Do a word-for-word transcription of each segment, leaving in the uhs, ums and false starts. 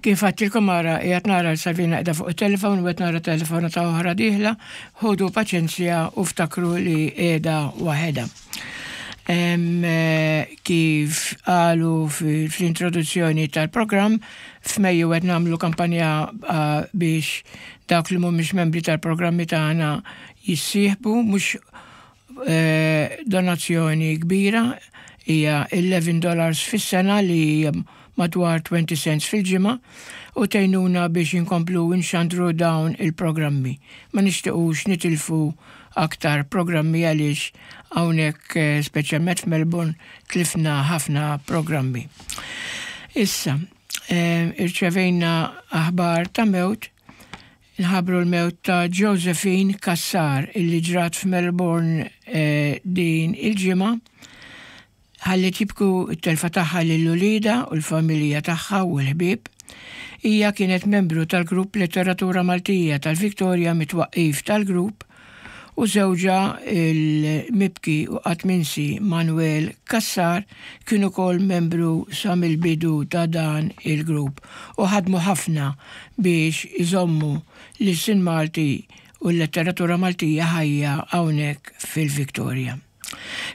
Kif għedtilkom ara, qiegħed nara l-Salvina qiegħda fuq il-telefon u qed nara telefonata oħra dieħla, ħudu paċenzja u ftakru li qiegħda waħedha. Kif qalu fl-introduzzjoni tal-programm, f'Mejju qed nagħmlu kampanja biex dawk li mhumiex membri tal-programmi tagħna jissieħbu, mhux donazzjoni kbira, hija eleven dollars fis-sena li madwar twenty cents fil-ġimgħa u tgħinuna biex inkomplu nxandru dawn il-programmi. Ma nixtiequx nitilfu aktar programmi għaliex hawnhekk, eh, speċjalment f'Melbourne, tlifna ħafna programmi. Issa, eh, irċevejna aħbar ta' mewt. Nħabbru l-mewt ta' Josephine Cassar illi ġrat f'Melbourne eh, din il-ġimgħa. Ħalliet jibku t-telfa tagħha lil uliedha u l-familja tagħha u l-ħbieb. Hija kienet membru tal-grupp Letteratura Maltija tal-Victoria mit-twaqqif tal-grupp u żewġha il-mibki u qatt minsi Manuel Cassar kien ukoll membru sa mill-bidu ta' dan il-grupp u ħadmu ħafna biex iżommu l-ilsien Malti u l-letteratura Maltija ħajja hawnhekk fil-Victoria.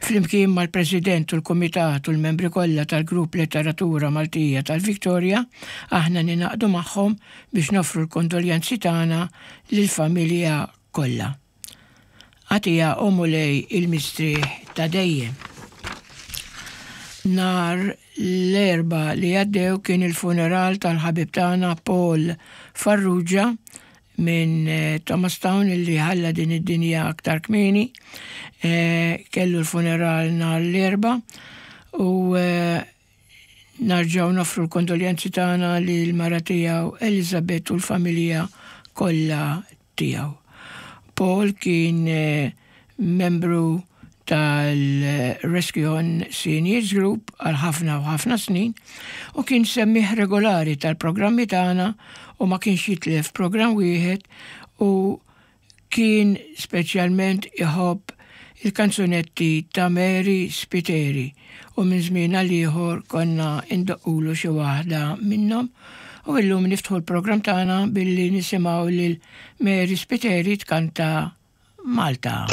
Flimkien mal-President u l-Komitat u l-membri kollha tal-Grupp Letteratura Maltija tal-Victoria, aħna ningħaqdu magħhom biex noffru l-kondoljanzi tagħna lill-familja kollha. Agħtiha, o Mulej, il-mistrieħ ta' dejjem. Nhar l-Erbgħa li għaddew kien il-funeral tal-ħabib tagħna Paul Farrugia minn eh, Thomastown illi ħalla din id-dinja aktar kmieni. Eh, kellu l-funeral nhar l-Erbgħa u eh, nerġgħu noffru l-kondoljanzi tagħna lil mara tiegħu Elizabeth u l-familja kollha tiegħu. Paul kien membru tal-Rescue On Seniors Group għal ħafna u ħafna snin u kien semmiegħ regolari tal-programmi tagħna u ma kienx jitlef programm wieħed u kien speċjalment iħobb il-kanzunetti ta' Mary Spiteri u minn żmien għal ieħor konna indoqqulu xi waħda minnhom u illum niftħu l-programm tagħna billi nisimgħu lil Mary Spiteri tkanta "Malta".